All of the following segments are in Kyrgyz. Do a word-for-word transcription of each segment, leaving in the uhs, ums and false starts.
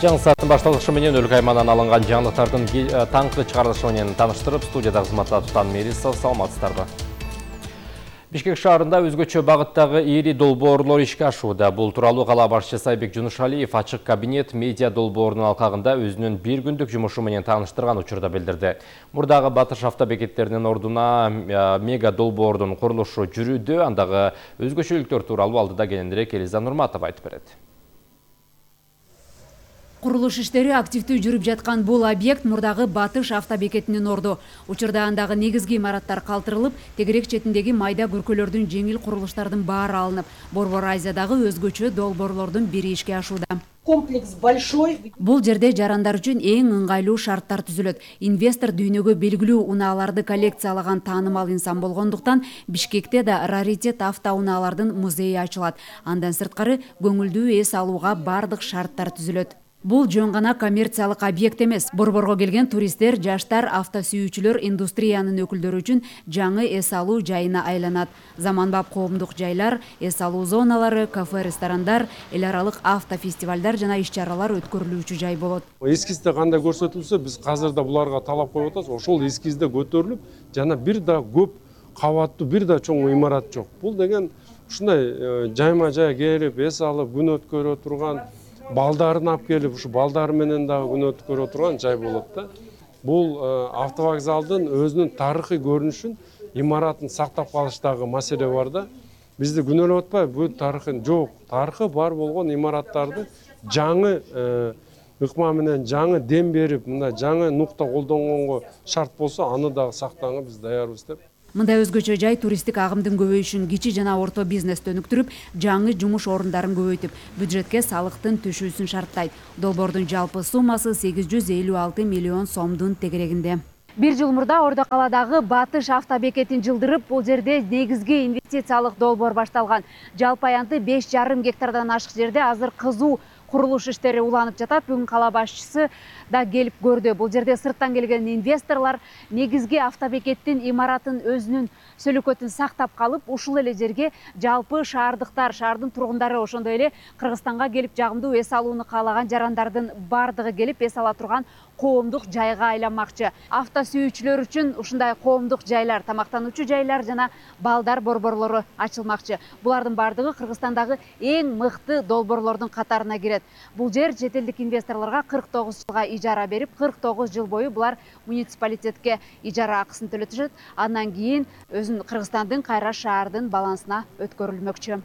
Жаңы сааттын башталышы менен өлкө аймагынан алынган жаңылыктардын таңкы чыгарылышы менен тааныштырып, студияда кызматта Тутан Мерисов, саламатсыздарбы. Бишкек шаарында өзгөчө багыттагы ири долбоорлор ишке ашууда. Бул тууралуу кала башчысы Сайбек Жунушалиев ачык кабинет медиа долбоорунун алкагында өзүнүн бир күндүк жумушу менен тааныштырган учурда билдирди. Мурдагы Батыш автобекеттеринин ордуна мега долбоордун курулушу жүрүүдө, андагы өзгөчөлүктөр тууралуу алдыда кененирээк Элиза Нурматова айтып берет. Курулуш иштери активдүү жүрүп жаткан бул объект мурдагы Батыш автобекетинин орду. Учурда андагы негизги имараттар калтырылып, тегерек четиндеги майда күркөлөрдүн жеңил курулуштардын баары алынып, Борбор Азиядагы өзгөчө долбоорлордун бири ишке ашууда. Комплекс большой. Бул жерде жарандар үчүн эң ыңгайлуу шарттар түзүлөт. Инвестор дүйнөгө белгилүү унааларды коллекциялаган таанымал инсан болгондуктан Бишкекте да раритет автоунаалардын музейи ачылат. Андан сырткары көңүлдүү эс алууга бардык шарттар түзүлөт. Бул жөн гана коммерциялык объект эмес. Борборго келген туристтер, жаштар, автосүйүүчүлөр, индустриянын өкүлдөрү үчүн жаңы эс алуу жайына айланат. Заманбап коомдук жайлар, эс алуу зоналары, кафе, ресторандар, эл аралык автофестивалдар жана иш-чаралар өткөрүлүүчү жай болот. Эскизде кандай көрсөтүлсө, биз азыр да буларга талап коюп атабыз. Ошол эскизде көтөрүлүп, жана бир да көп кабаттуу, бир да чоң имарат жок. Бул деген ушундай жайма жай келип, эс алып, күн өткөрө турган, балдарын алып келип, ушу балдары менен дагы күн өткөрө турган жай болот да. Бул автовокзалдын өзүнүн тарыхый көрүнүшүн, имаратын сактап калыштагы маселе бар да. Бизди күнөөлөп атпайбы, бул тарыхы жок, тарыхы бар болгон имараттарды жаңы ыкма менен жаңы дем берип, мындай жаңы нукта колдонгонго шарт болсо, аны дагы сактаганга биз даярбыз деп. Мындай өзгөчө жай туристтик агымдын көбөйүшүн, кичи жана орто бизнести өнүктүрүп, жаңы жумуш орундарын көбөйтүп, бюджетке салыктын түшүүсүн шарттайт. Долбоордун жалпы суммасы сегиз жүз элүү алты миллион сомдун тегерегинде. Бир жыл мурда Ордо калаадагы Батыш автобекетин жылдырып, бул жерде негизги инвестициялык долбоор башталган. Жалпы аянты беш жарым гектардан ашык жерде азыр кызуу курулуш иштери уланып жатат. Бүгүн кала башчысы да келип көрдү. Бул жерде сырттан келген инвесторлор негизги автобекеттин имаратын өзүнүн сөлөкөтүн сактап калып, ушул эле жерге жалпы шаардыктар, шаардын тургундары, ошондой эле Кыргызстанга келип жагымдуу эс алууну каалаган жарандардын бардыгы келип эс ала турган коомдук жайга айланмакчы. Автосүйүүчүлөр үчүн ушундай коомдук жайлар, тамактануучу жайлар жана балдар борборлору ачылмакчы. Булардын бардыгы Кыргызстандагы эң мыкты долбоорлордун катарына кирет. Бул жер чет элдик инвесторлорго кырк тогуз жылга ижара берип, кырк тогуз жыл бою булар муниципалитетке ижара акысын төлөтүшөт. Андан кийин өзүн Кыргызстандын кайра шаардын балансына өткөрүлмөкчү.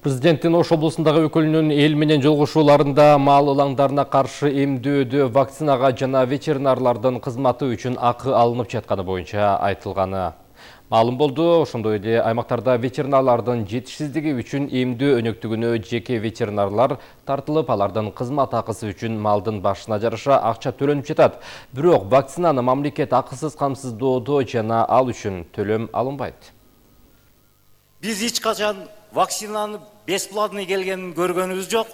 Президенттин Ош облусундагы өкүлүнүн эл менен жолугушууларында мал ылаңдарына каршы эмдөөдө вакцинага жана ветеринарлардын кызматы үчүн акы алынып жатканы боюнча айтылганы маалым болду. Ошондой эле аймактарда ветеринарлардын жетишсиздиги үчүн эмдөө өнөктүгүнө жеке ветеринарлар тартылып, алардын кызмат акысы үчүн малдын башына жараша акча төлөнүп жатат. Бирок вакцинаны мамлекет акысыз камсыздоодо жана ал үчүн төлөм алынбайт. Биз эч качан вакцинаны бесплатный келгенин көргөнүбүз жок.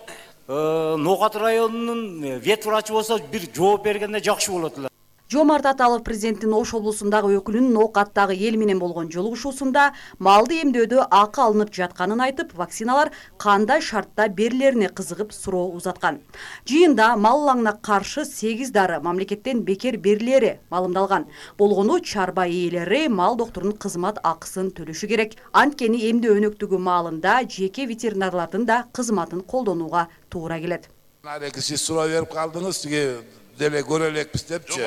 Ноокат районунун вет врачы болсо бир жооп бергенде жакшы болот эле. Жомарт Аталов президенттин Ош облусундагы өкүлүнүн Ноокаттагы эл менен болгон жолугушуусунда малды эмдөөдө акы алынып жатканын айтып, вакциналар кандай шартта берилерине кызыгып суроо узаткан. Жыйында мал ылаңына каршы сегиз дары мамлекеттен бекер берилери маалымдалган. Болгону чарба ээлери мал доктурунун кызмат акысын төлөшү керек. Анткени эмдөө өнөктүгү маалында жеке ветеринарлардын да кызматын колдонууга туура келет. Сиз суроо берип калдыңыз, деле көрө элекпиз депчи.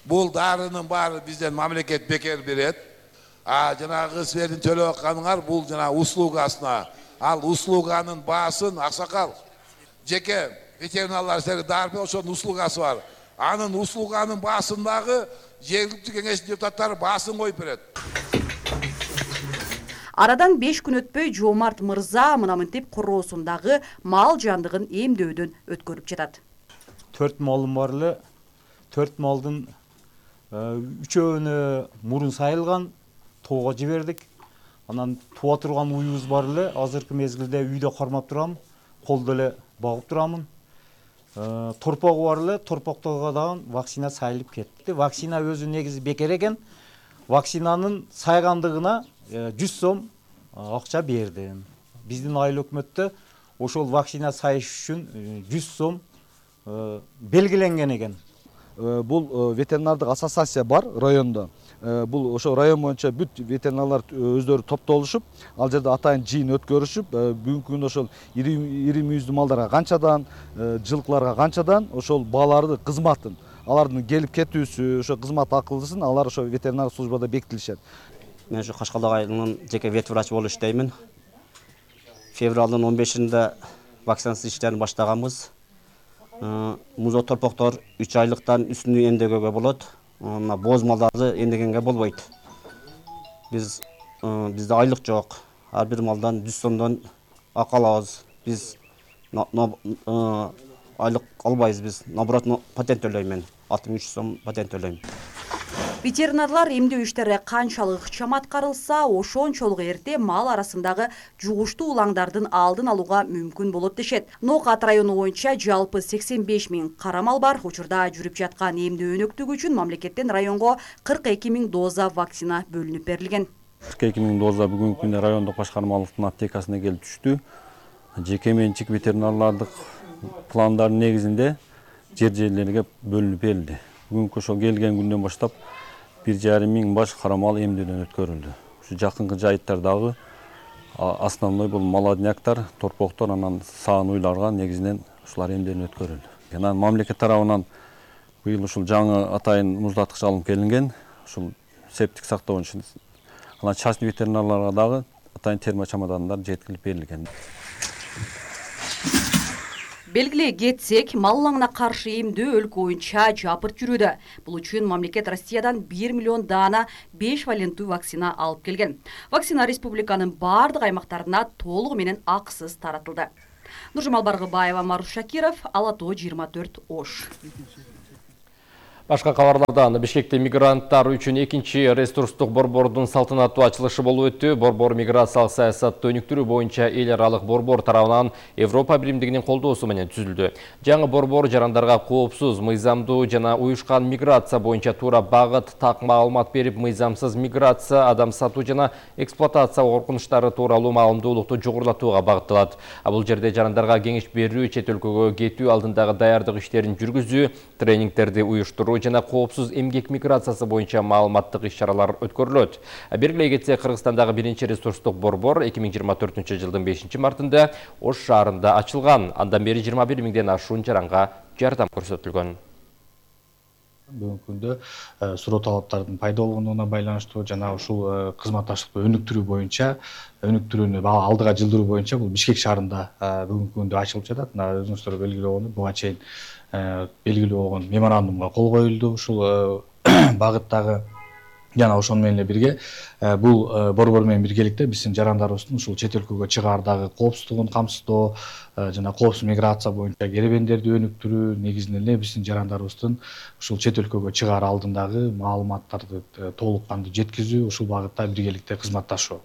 Бул дарынын баары бизден мамлекет бекер берет. А жанагы силердин төлөп атканыңар бул жана услугасына. Ал услуганын баасын аксакал жеке ветеринарлар силерге дары берет, ошонун услугасы бар. Анын услуганын баасын дагы жергиликтүү кеңештин депутаттары баасын коюп берет. Арадан беш күн өтпөй Жомарт мырза мына мынтип короосундагы мал жандыгын эмдөөдөн өткөрүп жатат. Төрт малым бар эле. Төрт малдын үчөөнө мурун сайылган, тоого жибердик. Анан туа турган уюбуз бар эле. Азыркы мезгилде үйдө кармап турам, колдо эле багып турамын. Торпогу бар эле, торпоктого дагы вакцина сайылып кетти. Вакцина өзү негизи бекер экен. Вакцинанын сайгандыгына жүз сом акча бердим. Биздин айыл өкмөттө ошол вакцина сайыш үчүн жүз сом белгиленген экен. Бул ветеринардык ассоциация бар районда. Бул ошо район боюнча бүт ветеринарлар өздөрү топтолушуп, ал жерде атайын жыйын өткөрүшүп, бүгүнкү күндө ошол ири ири мүйүздүү малдарга канчадан, жылкыларга канчадан ошол бааларды кызматын, алардын келип кетүүсү, ошо кызмат акылысын алар ошо ветеринар службада бекитилишет. Мен ушу Кашкалдык айылынын жеке вет врач болуп иштеймин. Февралдын он бешинде вакцинация иштерин баштаганбыз. Музо торпоктор үч айлыктан үстүнө эмдегенге болот. Боз малдарды эмдегенге болбойт. Биз бизде айлык жок. Ар бир малдан жүз сомдон акы алабыз. Биз айлык албайбыз биз. Наоборот, патент төлөйм мен. алты миң үч жүз сом патент төлөйм. Ветеринарлар эмдөө иштери канчалык ыкчам аткарылса, ошончолук эрте мал арасындагы жугуштуу улаңдардын алдын алууга мүмкүн болот дешет. Ноокат району боюнча жалпы сексен беш миң кара мал бар. Учурда жүрүп жаткан эмдөө өнөктүгү үчүн мамлекеттен районго кырк эки миң доза вакцина бөлүнүп берилген. кырк эки миң доза бүгүнкү күндө райондук башкармалыктын аптекасына келип түштү. Жеке менчик ветеринарлардык пландардын негизинде жер жерлерге бөлүнүп берилди. Бүгүнкү ошол келген күндөн баштап бир жарым миң баш кара мал эмдөөдөн өткөрүлдү. Ушу жакынкы жайыттардагы основной бул молодняктар, торпоктор, анан саан уйларга негизинен ушулар эмдөөдөн өткөрүлдү. Анан мамлекет тарабынан быйыл ушул жаңы атайын муздаткыч алынып келинген, ушул септик сактоо боюнча анан частный ветеринарларга дагы атайын термо чемодандар жеткирип берилген. Белгилей кетсек, мал улаңына каршы эмдөө өлкө боюнча жапырт жүрүүдө. Бул үчүн мамлекет Россиядан бир миллион даана беш валенттүү вакцина алып келген. Вакцина республиканын бардык аймактарына толугу менен акысыз таратылды. Нуржамал Баргыбаева, Маруш Шакиров, Ала Тоо жыйырма төрт Ош. Башка кабарлардан Бишкекте мигранттар үчүн экинчи ресурстук борбордун салтанаттуу ачылышы болуп өттү. Борбор миграциялык саясатты өнүктүрүү боюнча эл аралык борбор тарабынан Европа биримдигинин колдоосу менен түзүлдү. Жаңы борбор жарандарга коопсуз, мыйзамдуу жана уюшкан миграция боюнча туура багыт, так маалымат берип, мыйзамсыз миграция, адам сатуу жана эксплуатация коркунучтары тууралуу маалымдуулукту жогорулатууга багытталат. Бул жерде жарандарга кеңеш берүү, чет өлкөгө кетүү алдындагы даярдык иштерин жүргүзүү, тренингтерди уюштуруу жана коопсуз эмгек миграциясы боюнча маалыматтык иш-чаралар өткөрүлөт. Белгилей кетсек, Кыргызстандагы биринчи ресурстук борбор эки миң жыйырма төртүнчү жылдын бешинчи мартында Ош шаарында ачылган. Андан бери жыйырма бир миңден ашуун жаранга жардам көрсөтүлгөн. Бүгүнкү күндө суроо талаптардын пайда болгонуна байланыштуу жана ушул кызматташтыкты өнүктүрүү боюнча, өнүктүрүүнү алдыга жылдыруу боюнча бул Бишкек шаарында бүгүнкү күндө ачылып жатат. Мына өзүңүздөр белгилүү болгону буга чейин белгилүү болгон меморандумга кол коюлду. Ушул багыттагы жана ошону менен эле бирге бул борбор менен биргеликте биздин жарандарыбыздын ушул чет өлкөгө чыгаардагы коопсуздугун камсыздоо жана коопсуз миграция боюнча керебендерди өнүктүрүү, негизинен эле биздин жарандарыбыздын ушул чет өлкөгө чыгаар алдындагы маалыматтарды толук кандуу жеткизүү, ушул багытта биргеликте кызматташуу.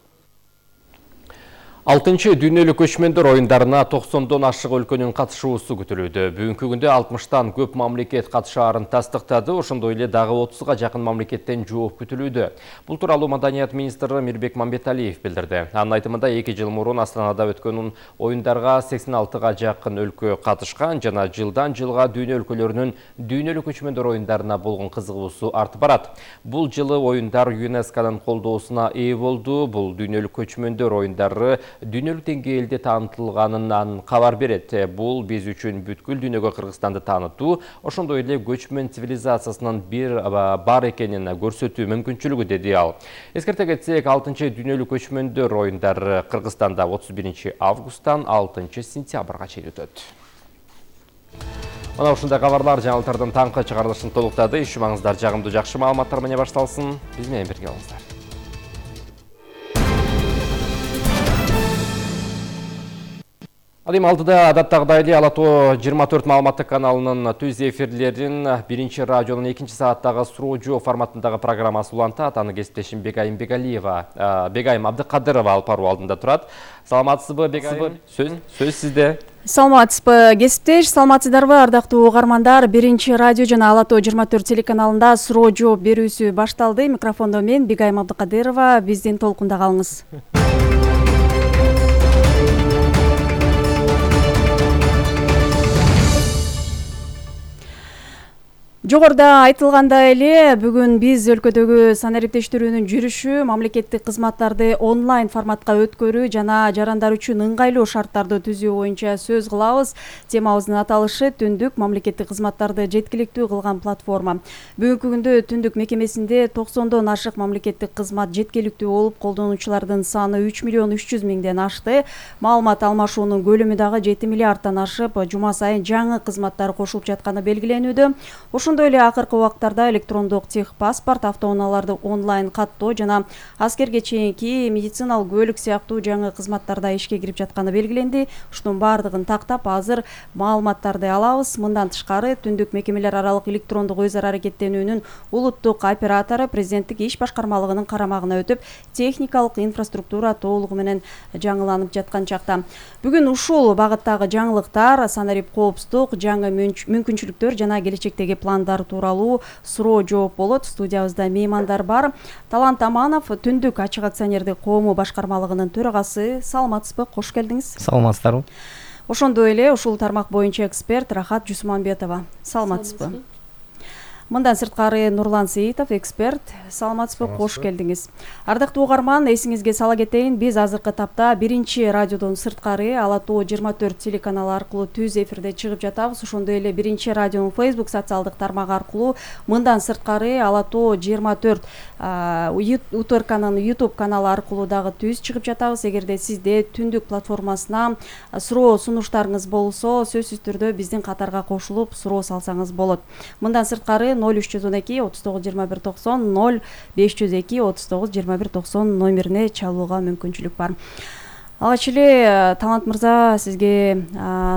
алтынчы дүйнөлүк көчмөндөр оюндарына токсондон ашык өлкөнүн катышуусу күтүлүүдө. Бүгүнкү күндө алтымыштан көп мамлекет катышаарын тастыктады, ошондой эле дагы отузга жакын мамлекеттен жооп күтүлүүдө. Бул тууралуу Маданият министри Мирбек Мамбеталиев билдирди. Анын айтымында эки жыл мурун Астанада өткөн оюндарга сексен алтыга жакын өлкө катышкан жана жылдан жылга дүйнө өлкөлөрүнүн дүйнөлүк көчмөндөр оюндарына болгон кызыгуусу артып барат. Бул жылы оюндар ЮНЕСКОнун колдоосуна ээ болду. Бул дүйнөлүк көчмөндөр оюндары дүйнөлүк деңгээлде таанытылганынан кабар берет. Бул биз үчүн бүткүл дүйнөгө Кыргызстанды таанытуу, ошондой эле көчмөн цивилизациясынын бир бар экенин көрсөтүү мүмкүнчүлүгү, деди ал. Эскерте кетсек, алтынчы дүйнөлүк көчмөндөр оюндары Кыргызстанда отуз биринчи августтан алтынчы сентябрга чейин өтөт. Мына ушундай кабарлар жаңылыктардын таңкы чыгарылышын толуктады. Иш маңыздар жагымдуу жакшы маалыматтар менен башталсын. Биз менен бирге болуңуздар. Адым алдыда адаттагыдай эле Ала Тоо жыйырма төрт маалыматтык каналынын түз эфирлерин биринчи радионун экинчи сааттагы суроо жоо форматындагы программасы улантат. Аны кесиптешим Бегайым Бегалиева, Бегайым Абдыкадырова алып баруу алдында турат. Саламатсызбы, Бегайым? Сөз сөз сизде. Саламатсызбы, кесиптеш, саламатсыздарбы, ардактуу угармандар. Биринчи радио жана Ала Тоо жыйырма төрт телеканалында суроо жооп берүүсү башталды. Микрофондо мен Бегайым Абдыкадырова, биздин толкунда калыңыз. Жогоруда айтылгандай эле бүгүн биз өлкөдөгү санариптештирүүнүн жүрүшү, мамлекеттик кызматтарды онлайн форматка өткөрүү жана жарандар үчүн ыңгайлуу шарттарды түзүү боюнча сөз кылабыз. Темабыздын аталышы түндүк мамлекеттик кызматтарды жеткиликтүү кылган платформа. Бүгүнкү күндө түндүк мекемесинде токсондон ашык мамлекеттик кызмат жеткиликтүү болуп, колдонуучулардын саны үч миллион үч жүз миңден ашты. Маалымат алмашуунун көлөмү дагы жети миллиардтан ашып, жума сайын жаңы кызматтар кошулуп жатканы белгиленүүдө. Ошондой эле акыркы убактарда электрондук техпаспорт, автоунааларды онлайн каттоо жана аскерге чейинки медициналык көлүк сыяктуу жаңы кызматтар да ишке кирип жатканы белгиленди. Ушунун баардыгын тактап азыр маалыматтарды алабыз. Мындан тышкары түндүк мекемелер аралык электрондук өз ара аракеттенүүнүн улуттук оператору президенттик иш башкармалыгынын карамагына өтүп, техникалык инфраструктура толугу менен жаңыланып жаткан чакта. Бүгүн ушул багыттагы жаңылыктар, санарип коопсуздук, жаңы мүмкүнчүлүктөр жана келечектеги пландар тууралуу суроо жооп болот. Студиябызда меймандар бар. Талант Аманов, Түндүк ачык акционердик коому башкармалыгынын төрагасы. Саламатсызбы? Кош келдиңиз. Саламатсыздарбы? Ошондой эле ушул тармак боюнча эксперт Рахат Жусманбетова. Саламатсызбы? Мындан сырткары Нурлан Сейитов, эксперт. Саламатсызбы? Кош келдиңиз. Ардактуу угарман, эсиңизге сала кетейин, биз азыркы тапта биринчи радиодон сырткары Ала Тоо жыйырма төрт телеканалы аркылуу түз эфирде чыгып жатабыз. Ошондой эле биринчи радионун Facebook социалдык тармагы аркылуу, мындан сырткары Ала Тоо жыйырма төрт УТРКнын YouTube каналы аркылуу дагы түз чыгып жатабыз. Эгерде сизде Түндүк платформасына суроо сунуштарыңыз болсо, сөзсүз түрдө биздин катарга кошулуп суроо салсаңыз болот. Мындан сырткары ноль үч жүз он эки отуз тогуз жыйырма бир токсон, ноль беш жүз эки отуз тогуз жыйырма бир токсон номерине чалууга мүмкүнчүлүк бар. Алгач эле Талант мырза, сизге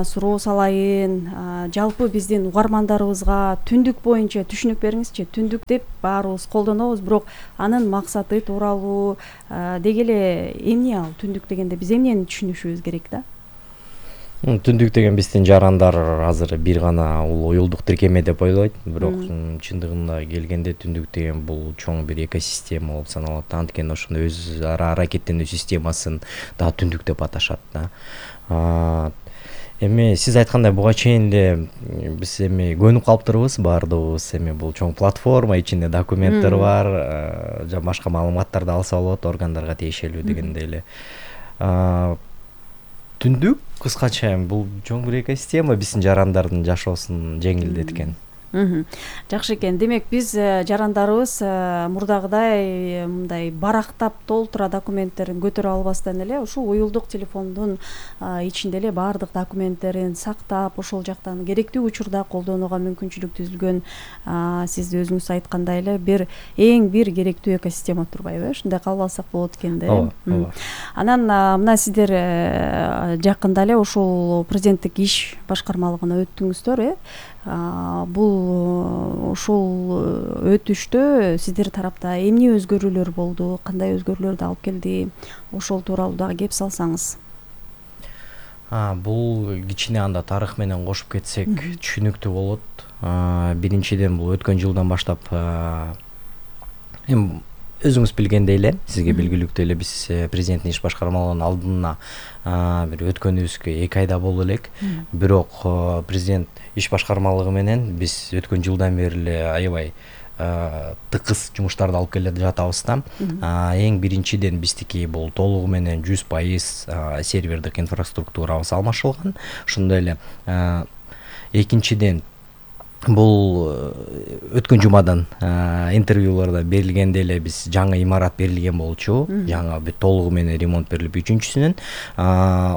суроо салайын. Жалпы биздин угармандарыбызга түндүк боюнча түшүнүк бериңизчи. Түндүк деп баарыбыз колдонобуз, бирок анын максаты тууралуу деги эле эмне ал түндүк дегенде биз эмнени түшүнүшүбүз керек да? Түндүк деген биздин жарандар азыр бир гана уюлдук тиркеме деп ойлойт, бирок чындыгында келгенде түндүк деген бул чоң бир экосистема болуп саналат. Анткени ошондо өз ара аракеттенүү системасын да түндүк деп аташат да. Эми сиз айткандай буга чейин эле биз эми көнүп калыптырбыз баардыгыбыз. Эми бул чоң платформа, ичинде документтер бар, жана башка маалыматтарды алса болот, органдарга тиешелүү дегендей эле. Түндүк кыскача бул чоң бир экосистема биздин жарандардын жашоосун жеңилдеткен. Жакшы экен. Демек биз жарандарыбыз мурдагыдай мындай барактап толтура документтерин көтөрө албастан эле ушул уюлдук телефондун ичинде эле баардык документтерин сактап, ошол жактан керектүү учурда колдонууга мүмкүнчүлүк түзүлгөн. Сиз өзүңүз айткандай эле бир эң бир керектүү экосистема турбайбы? Ушундай кабыл алсак болот экен да. Ооба. Анан мына сиздер жакында эле ушул президенттик иш башкармалыгына өттүңүздөр, э? Бул ушул өтүштө сиздер тарапта эмне өзгөрүүлөр болду, кандай өзгөрүүлөрдү алып келди, ошол тууралуу дагы кеп салсаңыз. Бул кичине анда тарых менен кошуп кетсек түшүнүктүү болот. Биринчиден бул өткөн жылдан баштап эми өзүңүз билгендей эле, сизге белгилүүктүү эле биз президенттин иш башкармалыгынын алдына бир өткөнүбүзгө эки айда болду элек. Бирок президент иш башкармалыгы менен биз өткөн жылдан бери эле аябай тыкыз жумуштарды алып келе жатабыз да. Эң биринчиден биздики бул толугу менен жүз пайыз сервердик инфраструктурабыз алмашылган. Ошондой эле экинчиден бул өткөн жумадан интервьюларда берилгенде эле биз жаңы имарат берилген болчу, жаңы бүт толугу менен ремонт берилип үчүнчүсүнөн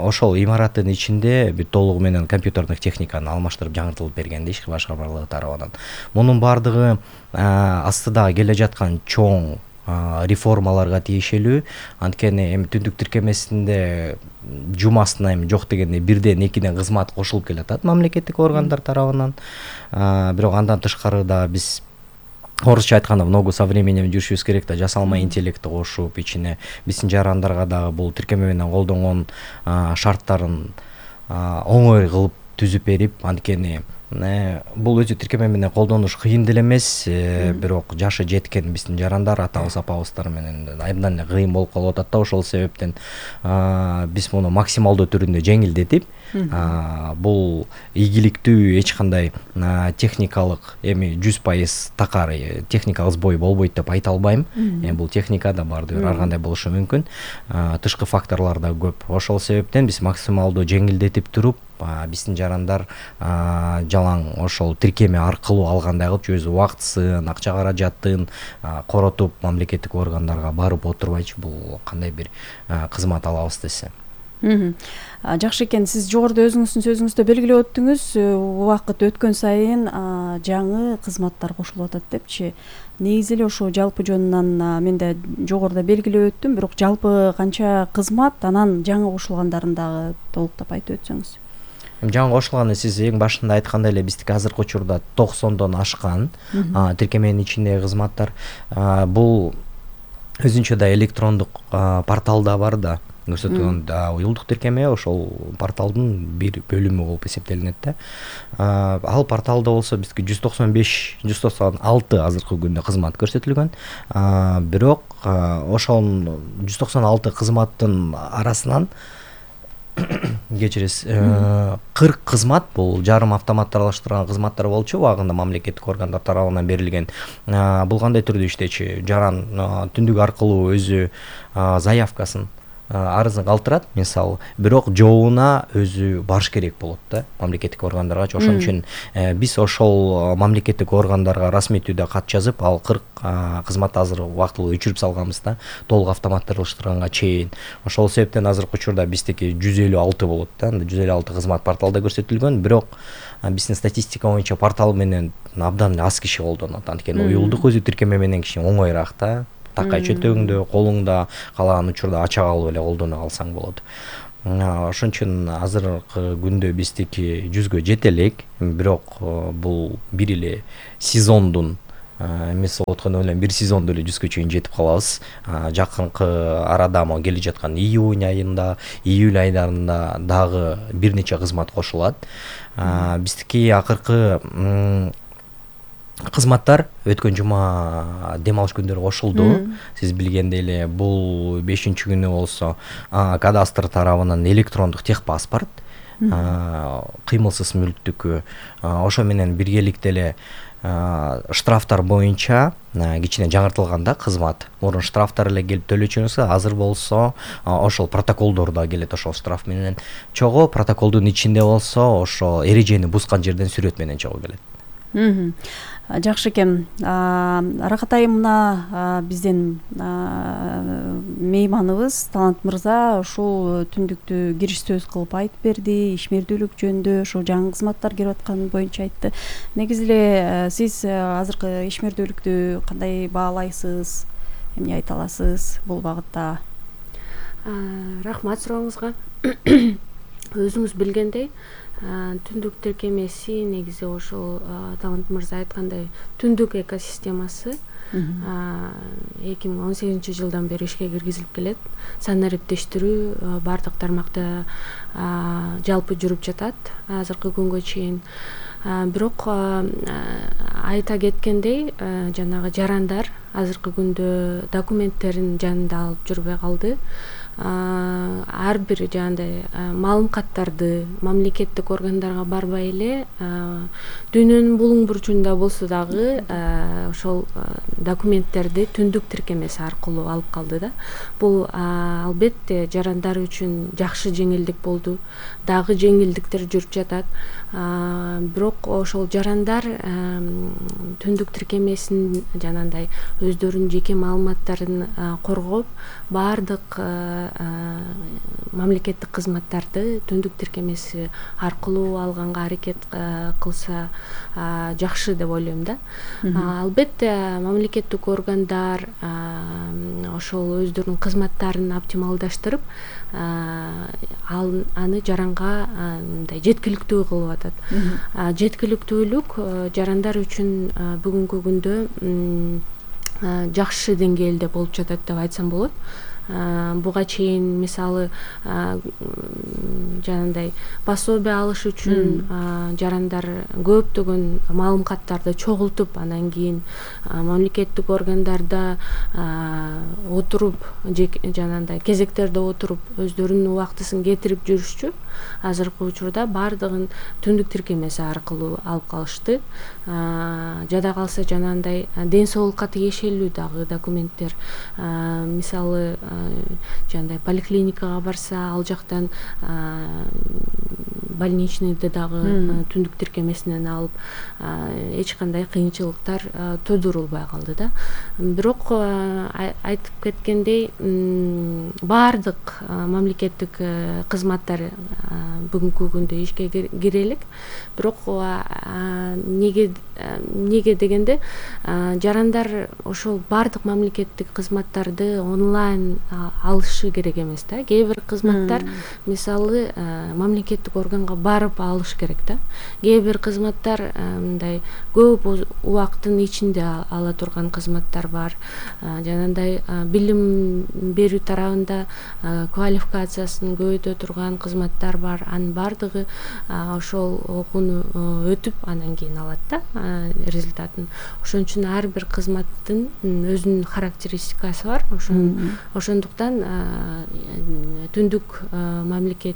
ошол имараттын ичинде бүт толугу менен компьютердик техниканы алмаштырып жаңыртылып берген иш башкармалыгы тарабынан. Мунун баардыгы астыдагы келе жаткан чоң реформаларга тиешелүү. Анткени эми түндүк тиркемесинде жумасына эми жок дегенде бирден экиден кызмат кошулуп келатат мамлекеттик органдар тарабынан. Бирок андан тышкары да биз орусча айтканда много со временем жүрүшүбүз керек да, жасалма интеллектти кошуп ичине биздин жарандарга дагы бул тиркеме менен колдонгон шарттарын оңой кылып түзүп берип, анткени бул өзү тиркеме менен колдонуш кыйын деле эмес, бирок жашы жеткен биздин жарандар атабыз апабыздар менен абдан эле кыйын болуп калып атат да. Ошол себептен биз муну максималдуу түрүндө жеңилдетип, бул ийгиликтүү, эч кандай техникалык эми жүз пайыз такар техникалык сбой болбойт деп айта албайм. Бул техникада баардыгы ар кандай болушу мүмкүн, тышкы факторлор да көп. Ошол себептен биз максималдуу жеңилдетип туруп, биздин жарандар жалаң ошол тиркеме аркылуу алгандай кылып өз убактысын, акча каражатын коротуп мамлекеттик органдарга барып отурбайчы бул кандай бир кызмат алабыз десе. Жакшы экен. Сиз жогоруда өзүңүздүн сөзүңүздө белгилеп өттүңүз, убакыт өткөн сайын жаңы кызматтар кошулуп атат депчи. Негизи эле ошо жалпы жөнүнөн мен да жогоруда белгилеп өттүм, бирок жалпы канча кызмат, анан жаңы кошулгандарын дагы толуктап айтып өтсөңүз. Жаңы кошулганы сиз эң башында айткандай эле биздики азыркы учурда токсондон ашкан тиркеменин ичиндеги кызматтар. Бул өзүнчө да электрондук порталда бар да, көрсөтүлгөн уюлдук тиркеме ошол порталдын бир бөлүмү болуп эсептелинет да. Ал порталда болсо бизге жүз токсон беш жүз токсон алты азыркы күндө кызмат көрсөтүлгөн. Бирок ошол жүз токсон алты кызматтын арасынан кечиресиз, кырк кызмат бул жарым автоматташтырылган кызматтар болчу, убагында мамлекеттик органдар тарабынан берилген. Бул кандай түрдө иштечү? Жаран түндүк аркылуу өзү заявкасын, арызын калтырат, мисалы, бирок жообуна өзү барыш керек болот да мамлекеттик органдарга. Ошон үчүн биз ошол мамлекеттик органдарга расмий түрдө кат жазып, ал кырк кызматты азыр убактылуу өчүрүп салганбыз да, толук автоматташтырганга чейин. Ошол себептен азыркы учурда биздики жүз элүү алты болот да, жүз элүү алты кызмат порталда көрсөтүлгөн, бирок биздин статистика боюнча портал менен абдан аз киши колдонот. Анткени уюлдук өзү тиркеме менен киши оңоюраак да. Такай чөнтөгүңдө, колуңда калаган учурда ача калып эле колдоно калсаң болот. Ошон үчүн азыркы күндө биздики жүзгө жете элек, бирок бул бир эле сезондун эмес болуп аткан эле бир сезондо эле жүзгө чейин жетип калабыз. Жакынкы арада мо келе жаткан июнь айында, июль айдарында дагы бир нече кызмат кошулат. Биздики акыркы кызматтар өткөн жума дем алыш күндөрү кошулду. Сиз билгендей эле бул бешинчи күнү болсо кадастр тарабынан электрондук техпаспорт, кыймылсыз мүлктүккө, ошо менен биргеликте эле штрафтар боюнча кичине жаңыртылганда кызмат. Мурун штрафтар эле келип төлөчүңүз, азыр болсо ошол протоколдор да келет ошол штраф менен чогуу. Протоколдун ичинде болсо ошо эрежени бузган жерден сүрөт менен чогуу келет. Жакшы экен. Рахат айым, мына биздин мейманыбыз Талант мырза ушул түндүктү кириш сөз кылып айтып берди, ишмердүүлүк жөнүндө, ошо жаңы кызматтар келип атканы боюнча айтты. Негизи эле сиз азыркы ишмердүүлүктү кандай баалайсыз, эмне айта аласыз бул багытта? Рахмат сурооңузга. Өзүңүз билгендей, түндүк тиркемеси негизи ошол Талант мырза айткандай түндүк экосистемасы эки миң он сегизинчи жылдан бери ишке киргизилип келет. Санариптештирүү бардык тармакта жалпы жүрүп жатат азыркы күнгө чейин. Бирок айта кеткендей, жанагы жарандар азыркы күндө документтерин жанында алып жүрбөй калды. Ар бир жандай маалым каттарды мамлекеттик органдарга барбай эле дүйнөнүн булуң бурчунда болсо дагы ошол документтерди түндүк тиркемеси аркылуу алып калды да. Бул албетте жарандар үчүн жакшы жеңилдик болду. Дагы жеңилдиктер жүрүп жатат. Бирок ошол жарандар түндүк тиркемесин жанагындай өздөрүнүн жеке маалыматтарын коргоп, баардык мамлекеттик кызматтарды түндүк тиркемеси аркылуу алганга аракет кылса жакшы деп ойлойм да. Албетте мамлекеттик органдар ошол өздөрүнүн кызматтарын оптималдаштырып, аны жаранга мындай жеткиликтүү кылып атат. Жеткиликтүүлүк жарандар үчүн бүгүнкү күндө жакшы деңгээлде болуп жатат деп айтсам болот. буга чейин мисалы жанагындай пособие алыш үчүн жарандар көптөгөн маалыматтарды чогултуп анан кийин мамлекеттик органдарда отуруп жанагындай кезектерде отуруп өздөрүнүн убактысын кетирип жүрүшчү. Азыркы учурда баардыгын түндүк тиркемеси аркылуу алып калышты. Жада калса жанагындай ден соолукка тиешелүү дагы документтер, мисалы жанагындай поликлиникага барса, ал жактан больничныйды дагы түндүк тиркемесинен алып, эч кандай кыйынчылыктар тудурулбай калды да. Бирок айтып кеткендей, баардык мамлекеттик кызматтар бүгүнкү күндө ишке кире элек. Бирок неге неге дегенде жарандар ошол баардык мамлекеттик кызматтарды онлайн алышы керек эмес да. Кээ бир кызматтар мисалы мамлекеттик органга барып алыш керек да. Кээ бир кызматтар мындай көп убакыттын ичинде ала турган кызматтар бар. Жанагындай билим берүү тарабында квалификациясын көбөйтө турган кызматтар бар. Анын баардыгы ошол окууну өтүп анан кийин алат да результатын. Ошон үчүн ар бир кызматтын өзүнүн характеристикасы бар. Ошондуктан түндүк мамлекет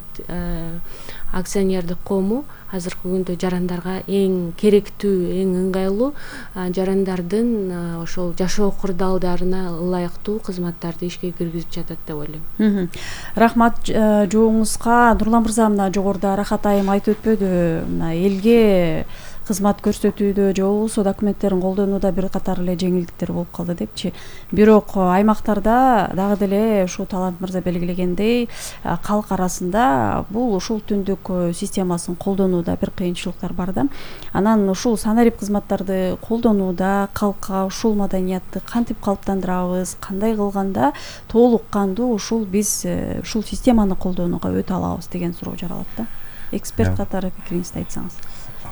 акционердик коому азыркы күндө жарандарга эң керектүү, эң ыңгайлуу жарандардын ошол жашоо кырдаалдарына ылайыктуу кызматтарды ишке киргизип жатат деп ойлойм. Рахмат жооңузга. Нурлан мырза, мына жогоруда Рахат айым айтып өтпөдү, мына элге кызмат көрсөтүүдө же болбосо документтерин колдонууда бир катар эле жеңилдиктер болуп калды депчи. Бирок аймактарда дагы деле ушул Талант мырза белгилегендей калк арасында бул ушул түндүк системасын колдонууда бир кыйынчылыктар бар да. Анан ушул санарип кызматтарды колдонууда калкка ушул маданиятты кантип калыптандырабыз, кандай кылганда толук кандуу ушул биз ушул системаны колдонууга өтө алабыз деген суроо жаралат да. Эксперт катары пикириңизди айтсаңыз.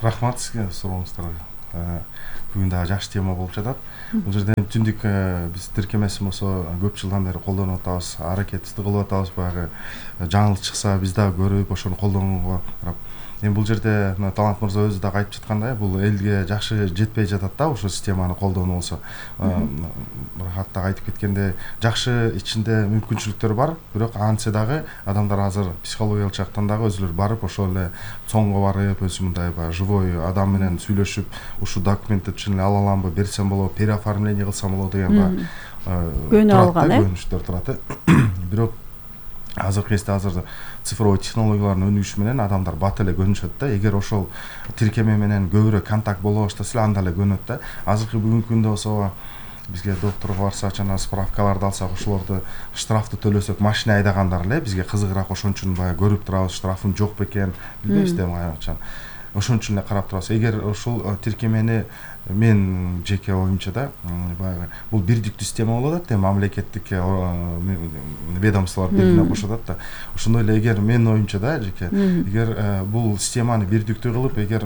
Рахмат сизге сурооңуздарга. Бүгүн дагы жакшы тема болуп жатат. Бул жерде түндүк биз тиркемесин болсо көп жылдан бери колдонуп атабыз, аракетибизди кылып атабыз. Баягы жаңылык чыкса биз дагы көрүп ошону колдонууга карап. Эми бул жерде мына Талант мырза өзү дагы айтып жаткандай, бул элге жакшы жетпей жатат да ушул системаны колдонуу болсо. Рахат дагы айтып кеткендей, жакшы ичинде мүмкүнчүлүктөр бар, бирок антсе дагы адамдар азыр психологиялык жактан дагы өзүлөрү барып ошол эле цоңго барып, өзү мындай баягы живой адам менен сүйлөшүп, ушул документти чын эле ала аламбы, берсем болобу, переоформление кылсам болобу деген баягы көнү алган, э? Көнүштөр турат. Бирок азыркы кезде азыр цифровой технологиялардын өнүгүшү менен адамдар бат эле көнүшөт да. Эгер ошол тиркеме менен көбүрөөк контакт боло баштаса эле анда эле көнөт да. Азыркы бүгүнкү күндө болсо бизге докторго барсак, жана справкаларды алсак, ошолорду штрафты төлөсөк, машина айдагандар эле бизге кызыгыраак, ошон үчүн баягы көрүп турабыз, штрафым жок бекен, билбейбиз да кайчан. Ошон үчүн эле карап турабыз. Эгер ушул тиркемени мен жеке оюмча да, баягы бул бирдиктүү система болуп атат, мамлекеттик ведомстволор бирине кошуп атат да. Ошондой эле эгер менин оюмча да, жеке, эгер бул системаны бирдиктүү кылып, эгер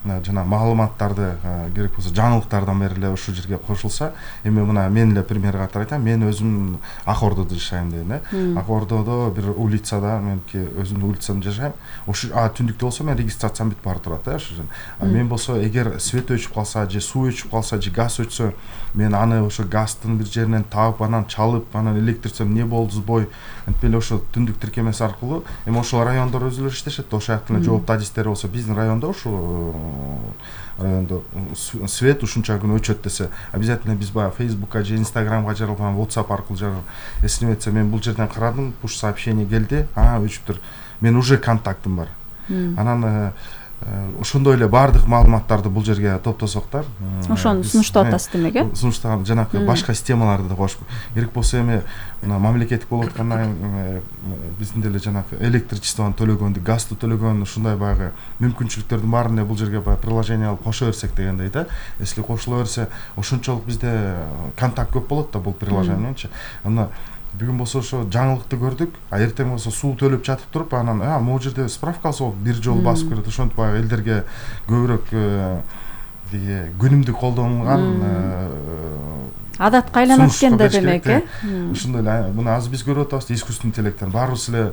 жана маалыматтарды керек болсо жаңылыктардан бери эле ушул жерге кошулса, эми мына мен эле пример катары айтам, мен өзүм Ак Ордодо жашайм дейм, э. Ак Ордодо бир улицада, меники өзүмдүн улицамда жашайм. Ошо түндүктө болсо мен регистрациям бүтүп бара турат, э, ошо. А мен болсо эгер свет өчүп калса, же суу өчүп калса, же газ өчсө, мен аны ошо газдын бир жеринен таап, анан чалып, анан электричеством эмне болду сбой, антип эле ошо түндүк тиркемеси аркылуу, эми ошол райондор өзүлөрү иштешет, ошол жактын эле жооптуу адистери болсо, биздин райондо ушул райондо свет ушунча күн өчөт десе, обязательно биз баягы Facebookка же Instagramга жаралган, WhatsApp аркылуу жаралган. Эсине этсе, мен бул жерден карадым, пуш сообщение келди, а өчүптүр. Мен уже контактым бар. Анан ошондой эле баардык маалыматтарды бул жерге топтосок да. Ошону сунуштап атасыз демек, э? Сунуштаган жанакы башка системаларды да кошуп. Керек болсо эми мына мамлекеттик болуп аткандан биздин деле жанакы электричествону төлөгөндү, газды төлөгөн ушундай баягы мүмкүнчүлүктөрдүн баарын эле бул жерге баягы приложение алып кошо берсек дегендей да. Если кошула берсе, ошончолук бизде контакт көп болот да бул приложение мененчи. Анда бүгүн болсо ошо жаңылыкты көрдүк, а эртең болсо суу төлөп жатып туруп, анан а могу жерде справка алсак бир жолу басып көрөт. Ошентип баягы элдерге көбүрөөк күнүмдүк колдонулган адатка айланат экен да демек, э? Ушундай эле муну азыр биз көрүп атабыз, искусственный интеллекттен баарыбыз эле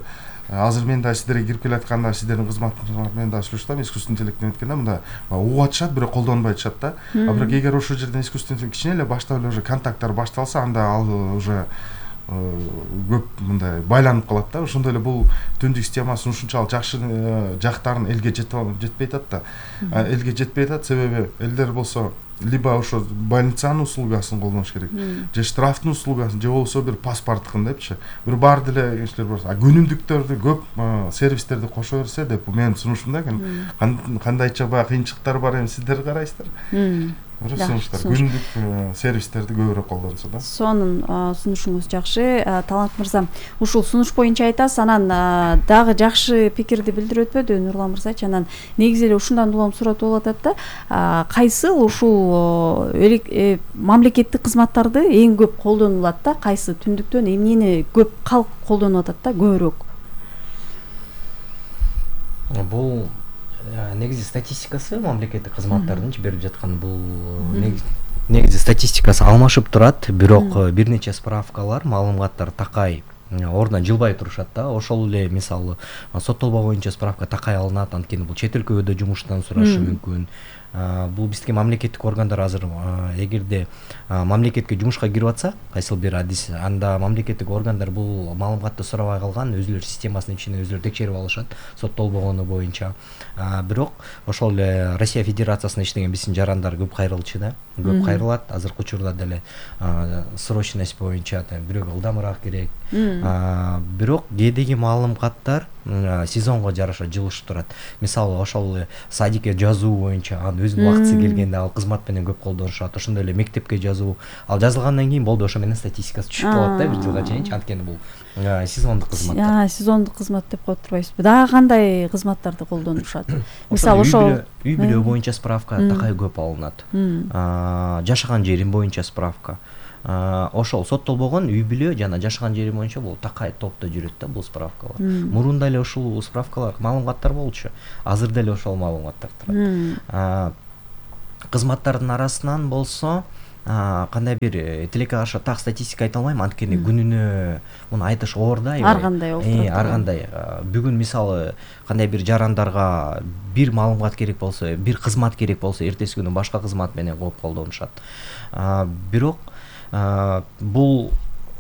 азыр мен да сиздерге кирип келатканда сиздердин кызматыңар менен да сүйлөштүм, искусственный интеллекттен өткөндө мында угуп атышат, бирок колдонбой атышат да. А бирок эгер ошол жерден искусственный кичине эле баштап эле уже контакттар башталса, анда ал уже көп мындай байланып калат да. Ошондой эле бул түндүк системасы ушунчалык жакшы жактарын элге жетпей атат да. Элге жетпей атат, себеби элдер болсо либо ошо больницанын услугасын колдонуш керек, же штрафтын услугасын, же болбосо бир паспорттукун депчи. Бир баары деле кишилер бар. А күнүмдүктөрдү көп сервистерди кошо берсе деп менин сунушум да экен. Кандайча баягы кыйынчылыктар бар эми сиздер карайсыздар. Сунуштар күнүмдүк сервистерди көбүрөөк колдонсо да. Сонун сунушуңуз жакшы. Талант мырза, ушул сунуш боюнча айтасыз, анан дагы жакшы пикирди билдирип өтпөдү Нурлан мырзачы. Анан негизи эле ушундан улам сурат болуп атат да. Кайсыл ушул мамлекеттик кызматтарды эң көп колдонулат да? Кайсы түндүктөн эмнени көп калк колдонуп атат да көбүрөөк? Бул негизи статистикасы мамлекеттик кызматтардын берип жаткан бул негизи статистикасы алмашып турат, бирок бир нече справкалар, маалыматтар такай ордунан жылбай турушат да. Ошол эле мисалы соттолбоо боюнча справка такай алынат, анткени бул чет өлкөдө жумуштан сурашы мүмкүн. Бул биздики мамлекеттик органдар азыр эгерде мамлекетке жумушка кирип атса, кайсыл бир адис, анда мамлекеттик органдар бул маалыматты сурабай калган, өзүлөр системасынын ичинде өзүлөр текшерип алышат соттолбогону боюнча. Бирок ошол эле Россия Федерациясында иштеген биздин жарандар көп кайрылчу да, көп кайрылат. Азыркы учурда деле срочность боюнча бирөөгө ылдамыраак керек. Бирок кээдеги маалыматтар сезонго жараша жылышып турат. Мисалы ошол садикке жазуу боюнча анын өзүнүн убактысы келгенде ал кызмат менен көп колдонушат. Ошондой эле мектепке жазуу, ал жазылгандан кийин болду, ошо менен статистикасы түшүп калат да бир жылга чейинчи, анткени бул сезондук кызмат. Сезондук кызмат деп коюп турбайсызбы? Дагы кандай кызматтарды колдонушат? Мисалы ошол үй бүлө боюнча справка такай көп алынат. Жашаган жерим боюнча справка. Ошол соттолбогон үй бүлө жана жашаган жери боюнча бул такай топто жүрөт да бул справкалар. Мурунда эле ушул справкалар, маалыматтар болчу. Азыр деле ошол маалыматтар турат. Кызматтардын арасынан болсо кандай бир тилекке каршы так статистика айта албайм, анткени күнүнө муну айтыш оор да. Ар кандай болуп турат. Ар кандай. Бүгүн мисалы кандай бир жарандарга бир маалымат керек болсо, бир кызмат керек болсо, эртеси күнү башка кызмат менен коюп колдонушат. Бирок бул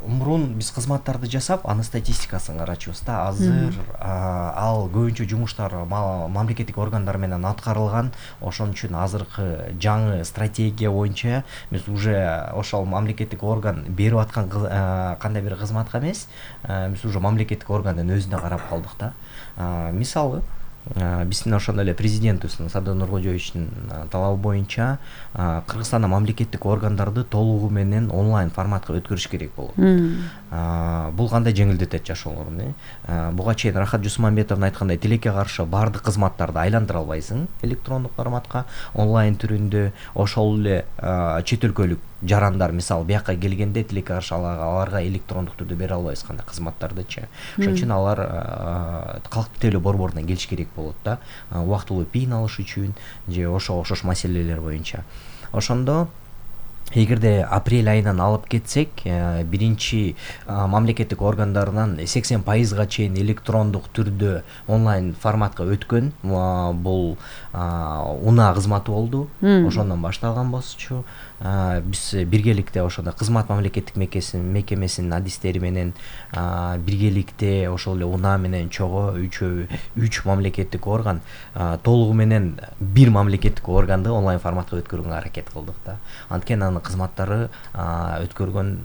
мурун биз кызматтарды жасап, анын статистикасын карачубуз да. Азыр ал көбүнчө жумуштар мамлекеттик органдар менен аткарылган. Ошон үчүн азыркы жаңы стратегия боюнча биз уже ошол мамлекеттик орган берип аткан кандай бир кызматка эмес, биз уже мамлекеттик органдын өзүнө карап калдык да. Мисалы биздин ошондой эле президентибиздин Садыр Нуркожоевичтин талабы боюнча Кыргызстанда мамлекеттик органдарды толугу менен онлайн форматка өткөрүш керек болот. Бул кандай жеңилдетет жашоолорун? Буга чейин Рахат Жусмамбетовдун айткандай, тилекке каршы баардык кызматтарды айландыра албайсың электрондук форматка, онлайн түрүндө. Ошол эле чет өлкөлүк жарандар мисалы бияка келгенде тилекке каршы аларга электрондук түрдө бере албайбыз кандай кызматтардычы. Ошон үчүн алар калктык тейлөө борборунан келиш керек болот да, убактылуу пин алыш үчүн же ошого окшош маселелер боюнча. Ошондо эгерде апрель айынан алып кетсек, биринчи мамлекеттик органдарынан сексен пайызга чейин электрондук түрдө онлайн форматка өткөн бул унаа кызматы болду. Ошондон башталган болчу. Биз биргеликте ошондо кызмат мамлекеттик мекемесинин адистери менен биргеликте ошол эле унаа менен чогуу үчөө үч мамлекеттик орган толугу менен бир мамлекеттик органды онлайн форматка өткөргөнгө аракет кылдык да. Анткени анын кызматтары өткөргөн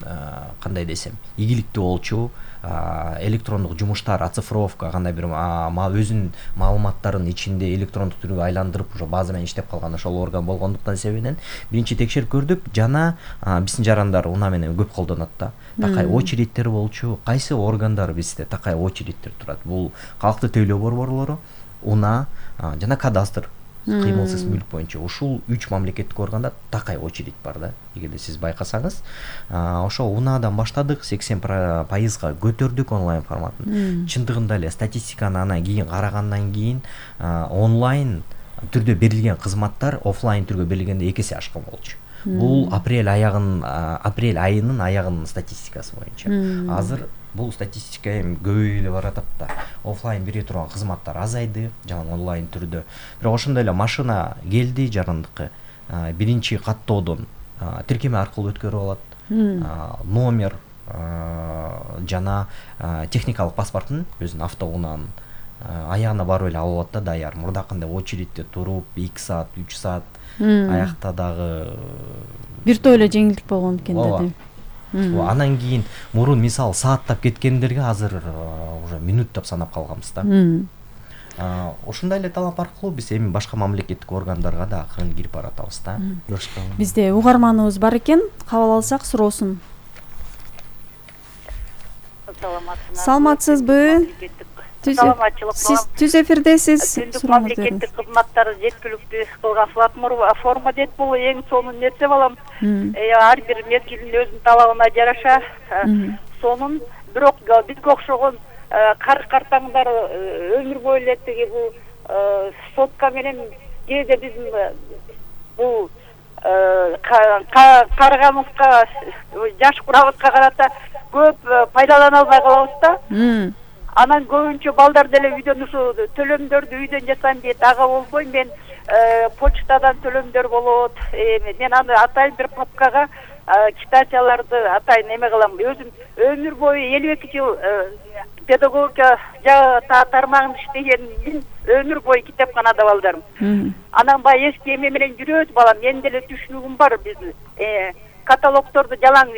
кандай десем ийгиликтүү болчу. Электрондук жумуштар, оцифровка, кандай бир өзүнүн маалыматтарын ичинде электрондук түргө айландырып уже база менен иштеп калган ошол орган болгондуктан себебинен биринчи текшерип көрдүк, жана биздин жарандар унаа менен көп колдонот да. Такай очередтер болчу. Кайсы органдар бизде такай очередтер турат? Бул калктык тейлөө борборлору, унаа жана кадастр, кыймылсыз мүлк боюнча ушул үч мамлекеттик органда такай очередь бар да. Эгерде сиз байкасаңыз, ошол унаадан баштадык, сексен пайызга көтөрдүк онлайн форматын. Чындыгында эле статистиканы анан кийин карагандан кийин онлайн түрдө берилген кызматтар офлайн түргө берилгенде эки эсе ашкан болчу. бул апрель аягын апрель айынын аягынын статистикасы боюнча. Азыр бул статистика эми көбөйүп эле баратат да. Офлайн бере турган кызматтар азайды, жана онлайн түрдө. Бирок ошондой эле машина келди жарандыкка. Биринчи каттоодон тиркеме аркылуу өткөрүп алат. Номер жана техникалык паспортун өзүнүн автоунаанын аягына барып эле алып алат да даяр. Мурдакындай очередьте туруп эки саат, үч саат аякта дагы биртөө эле жеңилдик болгон экен да. Анан кийин мурун мисалы сааттап кеткендерге азыр уже минуттап санап калганбыз да. Ошондой эле талап аркылуу биз эми башка мамлекеттик органдарга да акырын кирип баратабыз да. Бизде угарманыбыз бар экен, кабыл алсак суроосун. Саламатсызбы? Саламатчылык. Сиз түз эфирдесиз. Түндүк мамлекеттик кызматтары жеткиликтүү кылган форма дейт, бул эң сонун нерсе балам. Ар бир мезгилдин өзүнүн талабына жараша сонун, бирок бизге окшогон карый-картаңдар өмүр бою эле тиги бул сотка менен кээде биздин бул карыганыбызга, жаш курабызга карата көп пайдалана албай калабыз да. Анан көбүнчө балдар деле үйдөн ушу төлөмдөрдү үйдөн жасайм дейт, ага болбой мен почтадан төлөмдөр болот. Мен аны атайын бир папкага квитанцияларды атайын эме кылам. Өзүм өмүр бою элүү эки жыл педагогика тармагында иштеген, өмүр бою китепканада балдарым. Анан баягы эски эме менен жүрөбүз балам, мен деле түшүнүгүм бар, биз каталогдорду жалаң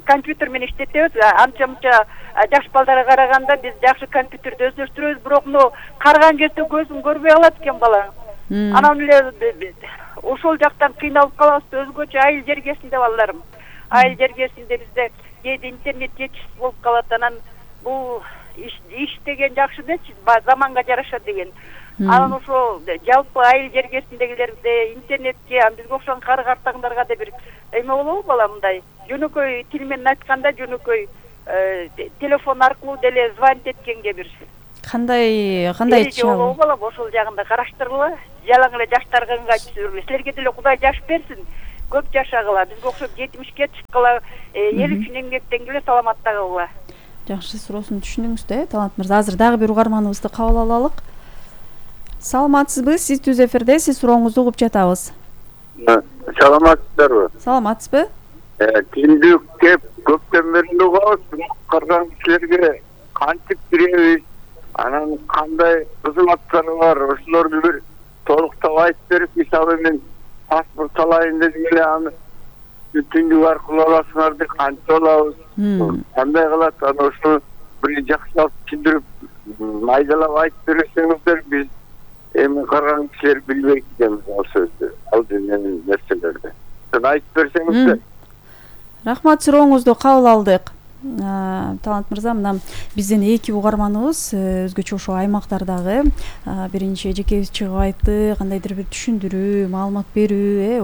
компьютер менен иштетебиз. Анча-мынча жаш балдарга караганда биз жакшы компьютерди өздөштүрөбүз, бирок мына карган кезде көзүм көрбөй калат экен бала. Анан эле ошол жактан кыйналып калабыз, өзгөчө айыл жергесинде балдарым. Айыл жергесинде бизде кээде интернет жетишсиз болуп калат, анан бул иш деген жакшы дечи, заманга жараша деген. Анан ошо жалпы айыл жергесиндегилерде интернетке, бизге окшогон кары-картаңдарга да бир эме болобу балам, мындай жөнөкөй тил менен айтканда жөнөкөй телефон аркылуу деле звонить эткенге бир кандай кандай болобу балам, ошол жагында караштыргыла. Жалаң эле жаштарга ыңгайтып жүрбөй. Силерге деле Кудай жаш берсин, көп жашагыла. Бизге окшоп жетимишке чыккыла, эл үчүн эмгектенгиле, саламатта калгыла. Жакшы, суроосун түшүндүңүз да, Талант мырза. Азыр дагы бир угарманыбызды кабыл алалык. Саламатсызбы? Сиз түз эфирдесиз, сурооңузду угуп жатабыз. Саламатсыздарбы? Саламатсызбы? Түндүк деп көптөн бери угабыз, кырган кишилерге кантип киребиз, анан кандай кызматтары бар, ошолорду бир толуктап айтып берип, мисалы мен паспорт алайын дедим эле, аны түндүк аркылуу аласыңарды кантип алабыз, кандай кылат, анан ошону бир жакшылап түшүндүрүп, майдалап айтып берсеңиздер, биз эми карган кишилер билбейт экенбиз ал сөздү, ал дүйнөнүн нерселерди. Айтып берсеңиздер. Рахмат, сурооңузду кабыл алдык. Талант мырза, мына биздин эки угарманыбыз өзгөчө ошо аймактардагы биринчи эжекебиз чыгып айтты, кандайдыр бир түшүндүрүү, маалымат берүү,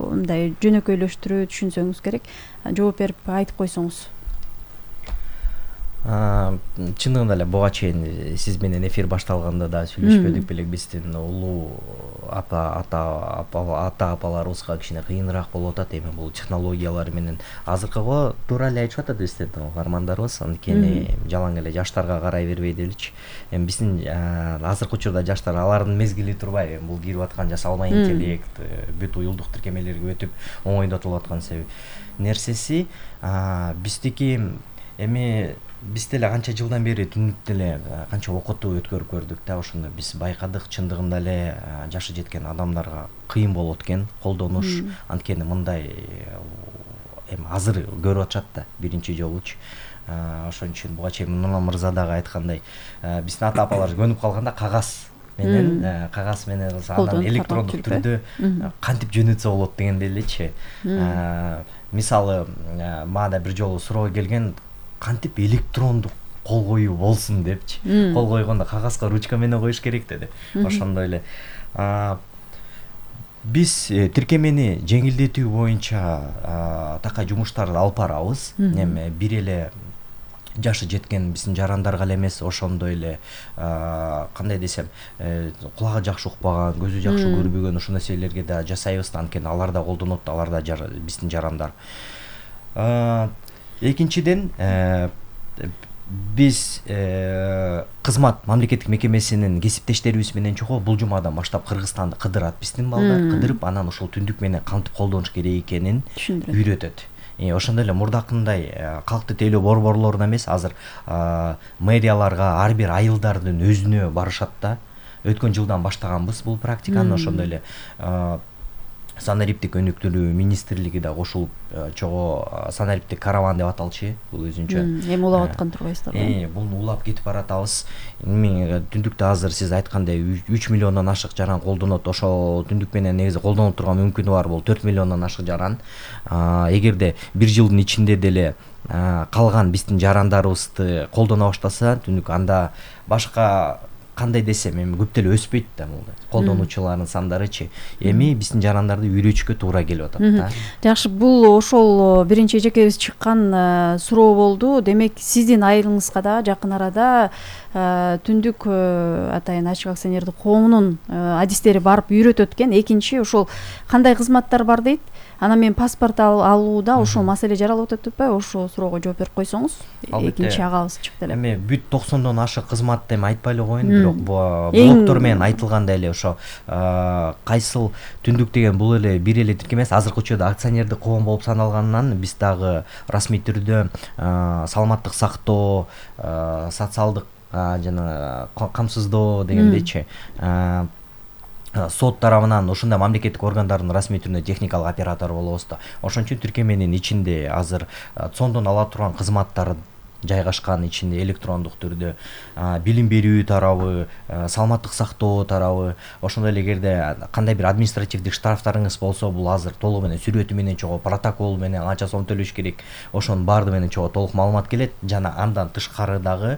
мындай жөнөкөйлөштүрүү түшүнсөңүз керек. Жооп берип айтып койсоңуз. Чындыгында эле буга чейин сиз менен эфир башталганда да сүйлөшпөдүк белек, биздин улуу апа ата ата апаларыбызга кичине кыйыныраак болуп атат эми бул технологиялар менен. Азыркыга туура эле айтышып атат биздин угармандарыбыз, анткени жалаң эле жаштарга карай бербей деличи. Эми биздин азыркы учурда жаштар алардын мезгили турбайбы, бул кирип аткан жасалма интеллект, бүт уюлдук тиркемелерге өтүп оңойдотулуп аткан нерсеси. Биздики эми биз деле канча жылдан бери түндүк деле канча окутуу өткөрүп көрдүк да, ошондо биз байкадык, чындыгында эле жашы жеткен адамдарга кыйын болот экен колдонуш. Анткени мындай эми азыр көрүп атышат да биринчи жолучу. Ошон үчүн буга чейин Нурлан мырза дагы айткандай, биздин ата апалар көнүп калганда кагаз менен кагаз менен анан электрондук түрдө кантип жөнөтсө болот дегенде элечи. Мисалы мага бир жолу суроо келген, кантип электрондук кол коюу болсун депчи. Кол койгондо кагазга ручка менен коюш керек деди. Ошондой эле биз тиркемени жеңилдетүү боюнча такай жумуштарды алып барабыз. Эми бир эле жашы жеткен биздин жарандарга эле эмес, ошондой эле кандай десем, кулагы жакшы укпаган, көзү жакшы көрбөгөн ошол нерселерге да жасайбыз да, анткени алар да колдонот, алар да биздин жарандар. Экинчиден, биз кызмат мамлекеттик мекемесинин кесиптештерибиз менен чогуу бул жумадан баштап Кыргызстанды кыдырат биздин балдар, кыдырып анан ошол түндүк менен кантип колдонуш керек экенин үйрөтөт. Ошондой эле мурдакындай калкты тейлөө борборлоруна эмес, азыр мэрияларга ар бир айылдардын өзүнө барышат да. Өткөн жылдан баштаганбыз бул практиканы, ошондой эле санариптик өнүктүрүү министрлиги да кошулуп, чогуу санариптик караван деп аталчу, бул өзүнчө. Эми улап аткан турбайсыздарбы? Э, бул улап кетип баратабыз. Эми түндүктө азыр сиз айткандай үч миллиондон ашык жаран колдонот. Ошол түндүк менен негизи колдонуп турган мүмкүнү бар бул төрт миллиондон ашык жаран. Эгерде бир жылдын ичинде деле калган биздин жарандарыбызды колдоно баштаса, түндүк анда башка кандай десем, эми көп деле өспөйт да бул колдонуучулардын сандарычы. Эми биздин жарандарды үйрөтүшкө туура келип атат да. Жакшы, бул ошол биринчи эжекебиз чыккан суроо болду. Демек, сиздин айылыңызга да жакын арада түндүк атайын ачык акционердик коомунун адистери барып үйрөтөт экен. Экинчи, ошол кандай кызматтар бар дейт? Анан мен паспорт алууда ошол маселе жаралып атат деп атпайбы? Ошол суроого жооп берип койсоңуз. Экинчи агабыз чыкты эле. Эми бүт токсондон ашык кызмат деп айтпай эле коеюн, бирок блоктор менен айтылгандай эле ошо кайсыл түндүк деген бул эле бир эле тиркеме эмес, азыркы учурда акционердик коом болуп саналганынан биз дагы расмий түрдө саламаттык сактоо, социалдык жана камсыздоо дегендейчи сот тарабынан ошондой мамлекеттик органдардын расмий түрүндө техникалык оператор болобуз да. Ошон үчүн тиркеменин ичинде азыр цондон ала турган кызматтар жайгашкан, ичинде электрондук түрдө билим берүү тарабы, саламаттык сактоо тарабы, ошондой эле эгерде кандай бир административдик штрафтарыңыз болсо, бул азыр толугу менен сүрөтү менен чогуу, протокол менен канча сом төлөш керек, ошонун баардыгы менен чогуу толук маалымат келет. Жана андан тышкары дагы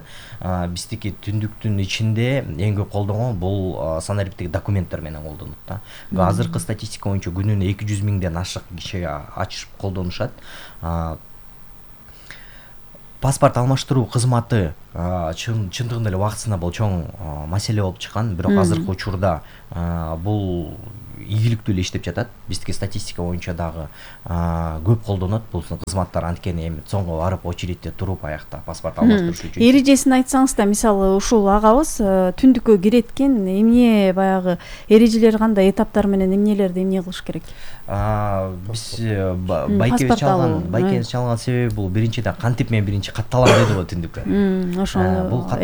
биздики түндүктүн ичинде эң көп колдонгон бул санариптик документтер менен колдонот да. Азыркы статистика боюнча күнүнө эки жүз миңден ашык киши ачышып колдонушат. Паспорт алмаштыруу кызматы чындыгында эле убактысында бул чоң маселе болуп чыккан, бирок азыркы учурда бул ийгиликтүү эле иштеп жатат. Биздики статистика боюнча дагы көп колдонот бул кызматтар, анткени эми цонго барып очередьте туруп аякта паспорт алмаштырыш үчүн. Эрежесин айтсаңыз да, мисалы ушул агабыз түндүккө кирет экен, эмне баягы эрежелер кандай, этаптар менен эмнелерди эмне кылыш керек? Биз байкебиз чалган, байкебиз чалган себеби бул биринчиден кантип мен биринчи катталам деди го түндүккө. Ошол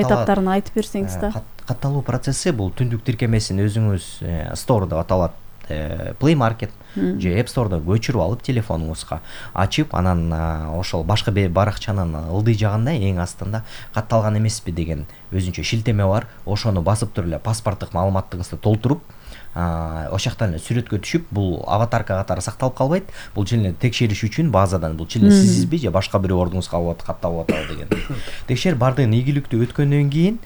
этаптарын айтып берсеңиз да. Катталуу процесси бул түндүк тиркемесин өзүңүз Store деп аталат, Play Market же App Store'да көчүрүп алып телефонуңузга ачып, анан ошол башка баракчанын ылдый жагында эң астында катталган эмеспи деген өзүнчө шилтеме бар. Ошону басып туруп эле паспорттук маалыматыңызды толтуруп, ошол жактан эле сүрөткө түшүп, бул аватарка катары сакталып калбайт. Бул чын эле текшериш үчүн базадан бул чын эле сизби же башка бирөө ордуңузга алып катталып атабы деген. Текшерип бардыгын ийгиликтүү өткөндөн кийин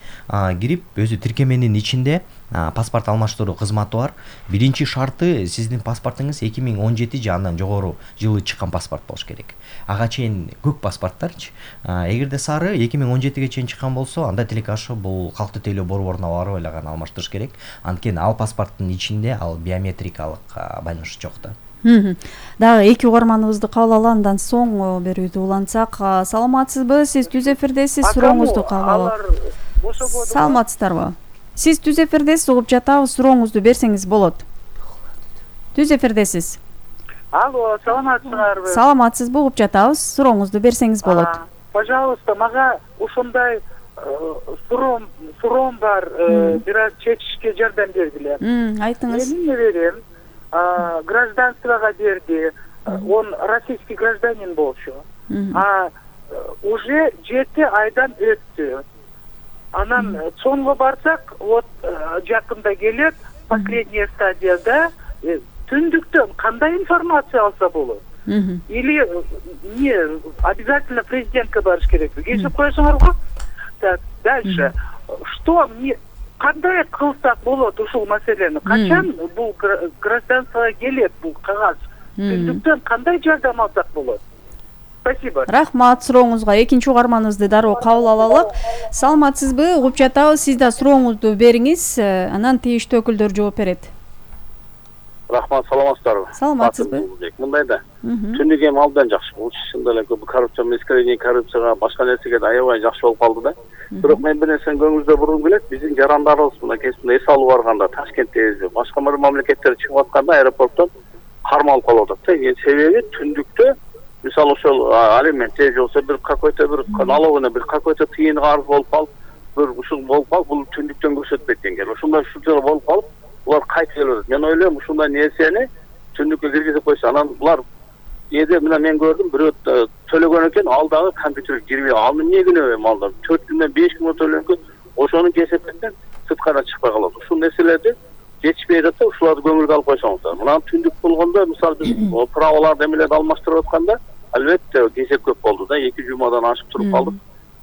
кирип, өзү тиркеменин ичинде паспорт алмаштыруу кызматы бар. Биринчи шарты сиздин паспортуңуз эки миң он жети же андан жогору жылы чыккан паспорт болуш керек. Ага чейин көк паспорттарчы. Эгерде сары эки миң он жетиге чейин чыккан болсо, анда тилеки ашы бул калкты тейлөө борборуна барып эле гана алмаштырыш керек. Анткени ал паспорттун ичинде ал биометрикалык байланыш жок да. Дагы эки угарманыбызды кабыл алалы, андан соң берүүдү улантсак. Саламатсызбы? Сиз түз эфирдесиз, сурооңузду кабыл алалы. Саламатсыздарбы? Сиз түз эфирдесиз, угуп жатабыз, сурооңузду берсеңиз болот. Түз эфирдесиз. Алло, саламатсыздарбы? Саламатсызбы, угуп жатабыз, сурооңузду берсеңиз болот. Пожалуйста, мага ушундай суроом суроом бар, бир аз чечишке жардам бергиле. Айтыңыз. Мен неберем гражданствого берди, он российский гражданин болчу. А уже жети айдан өттү. Анан цонго барсак, вот жакында келет, последняя стадияда, түндүктөн кандай информация алса болот? Или не обязательно президентке барыш керекпи? Кечирип коесуңар го? Так, дальше. Что мне кандай кылсак болот ушул маселени? Качан бул гражданствого келет бул кагаз? Түндүктөн кандай жардам алсак болот? Спасибо. Рахмат сурооңузга. Экинчи угарманыбызды дароо кабыл алалык. Саламатсызбы? Угуп жатабыз. Сиз да сурооңузду бериңиз, анан тийиштүү өкүлдөр жооп берет. Рахмат, саламатсыздарбы? Саламатсызбы? Мындай да. Түндүк эми абдан жакшы. Бул чын эле көп коррупция мескерение, коррупцияга, башка нерсеге да аябай жакшы болуп калды да. Бирок мен бир нерсени көңүлүңүздө бургум келет. Биздин жарандарыбыз мына кесипте эс алуу барганда, Ташкентте, башка бир мамлекеттерге чыгып атканда аэропорттон кармалып калып атат да. Себеби түндүктө мисалы ошол алимент же болсо бир какой-то бир налогуна бир какой-то тыйын карыз болуп калып, бир ушул болуп калып, бул түндүктөн көрсөтпөйт экен. Ошондой ушунчалык болуп калып, булар кайтып келип атат. Мен ойлойм, ушундай нерсени түндүккө киргизип койсо, анан булар эде мына мен көрдүм, бирөө төлөгөн экен, ал дагы компьютерге кирбей, аны эмне күнөө алды? төрт күндөн беш күнгө төлөнгөн, ошонун кесептен сырткара чыкпай калат. Ушул нерселерди жетишпей жатса, ушуларды көңүлгө алып койсоңуздар. Мына түндүк болгондо, мисалы биз праволарды эмелерди алмаштырып атканда, албетте кезек көп болду да, эки жумадан ашып туруп калдык.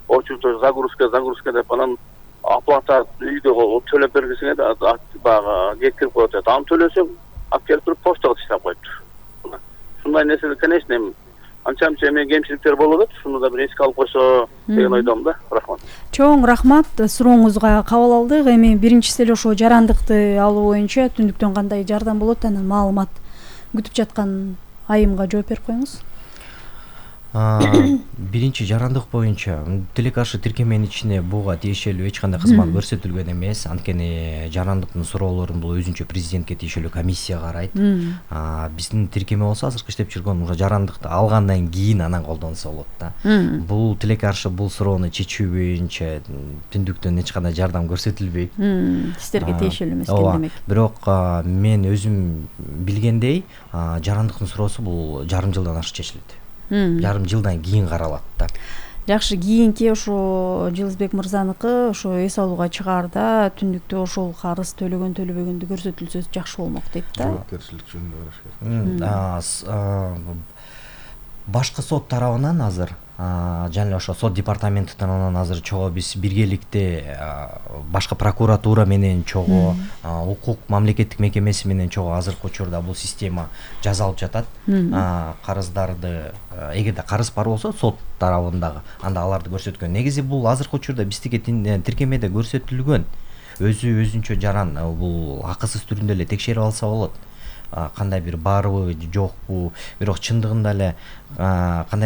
Очугчу загрузка, загрузка деп анан оплата үйдө төлөп бергисиңер да баягы жеткирип коет. Аны төлөсөң, алып келип туруп почтага таштап коюптур. Ушундай нерселер, конечно, анча-мынча эме кемчиликтер болуп атат. Шуну да бир эске алып койсо деген ойдомун да. Рахмат. Чоң рахмат. Сурооңузга кабыл алдык. Эми биринчиси эле ошо жарандыкты алуу боюнча түндүктөн кандай жардам болот, анан маалымат күтүп жаткан айымга жооп берип коюңуз. Биринчи жарандык боюнча тилек каршы тиркеменин ичине буга тиешелүү эч кандай кызмат көрсөтүлгөн эмес. Анткени жарандыктын суроолорун бул өзүнчө президентке тиешелүү комиссия карайт. Биздин тиркеме болсо азыркы иштеп жүргөн уже жарандыкты алгандан кийин анан колдонсо болот да. Бул тилек каршы бул суроону чечүү боюнча түндүктөн эч кандай жардам көрсөтүлбөйт. Сиздерге тиешелүү эмес экен демек. Бирок мен өзүм билгендей, жарандыктын суроосу бул жарым жылдан ашык чечилет. Жарым жылдан кийин каралат да. Жакшы, кийинки ошо Жылызбек мырзаныкы ошо эс алууга чыгаарда түндүктө ошол карыз төлөгөн төлөбөгөндү көрсөтүлсө жакшы болмок дейт да. Жоопкерчилик жөнүндө караш керек. Башкы сот тарабынан азыр жана эле ошо сот департаменти тарабынан азыр чогуу биз биргеликте башкы прокуратура менен чогуу укук мамлекеттик мекемеси менен чогуу азыркы учурда бул система жасалып жатат. Карыздарды эгерде карыз бар болсо сот тарабындагы анда аларды көрсөткөн. Негизи бул азыркы учурда биздики тиркемеде көрсөтүлгөн. Өзү өзүнчө жаран бул акысыз түрүндө эле текшерип алса болот. Кандай бир барбы, жокпу, бирок чындыгында эле кандай